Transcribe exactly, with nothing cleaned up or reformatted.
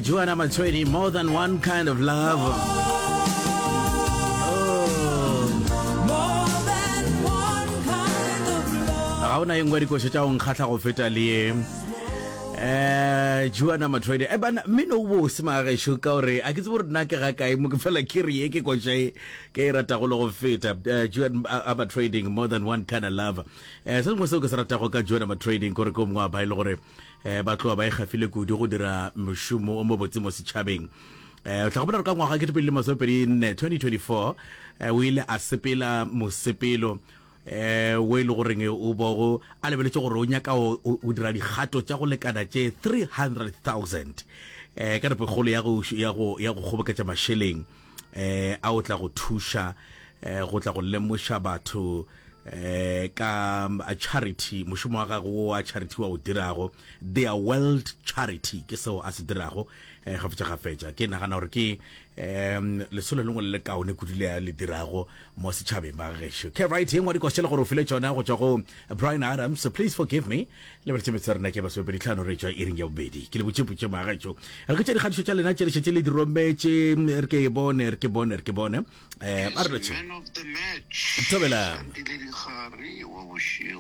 Joanna Matshweni, more than one kind of love. Oh. Ga ona ye nngwe dikošo tša go nkgahla go feta le ye. Eh, Joanna Matshweni. Eh bana, mmino o bose magešo ka gore a ke tsebe gore nna ke ga kae mo ke fela ke re ye ke koša e ke e ratago le go feta. Eh, Joanna uh, Trading, more than one kind of love. Eh, se sengwe seo ke se ratago ka Joanna Trading kore ke o mongwe wa ba e le gore eh ba tloga ba ikgafile kudu go dira mošomo o mobotse mo setšhabeng. Eh, o tla gopola gore ka ngwaga kete pedi le masomepedi nne twenty twenty-four eh, o ile a sepela mosepelo eh o e le goreng o bogo a lebeletše gore o nyaka o dira dikgato tša go lekana tše three hundred thousand eh ka nepokgolo ya go ya go ya go kgoboketša mašeleng eh a o tla go thuša eh go tla go lemoša batho eh ka charity, mošomo wa gagwe wa charity wa o dirago, Their World Charity ke seo a se dirago eh gafetša gafetša. Ke nagana gore ke um lesolo lengwe le le kaone kudu le a le dirago mo setšhabeng ba gešo. Ke right ye ngwe dikošele gore o file tšona go tšwa go Bryan Adams, Please Forgive Me. Le beletše metse rena ke masomepedi tlhano re tšwa iring ya bobedi. Ke le botšepotše magešo. Re ke tše dikgatišo tša lena tše le šetše le di rometše, re ke e bone, re ke bone, re ke bone. Eh, a re lotšhe. Man of the match. Thobela. Sandile Dikgare wa bošego.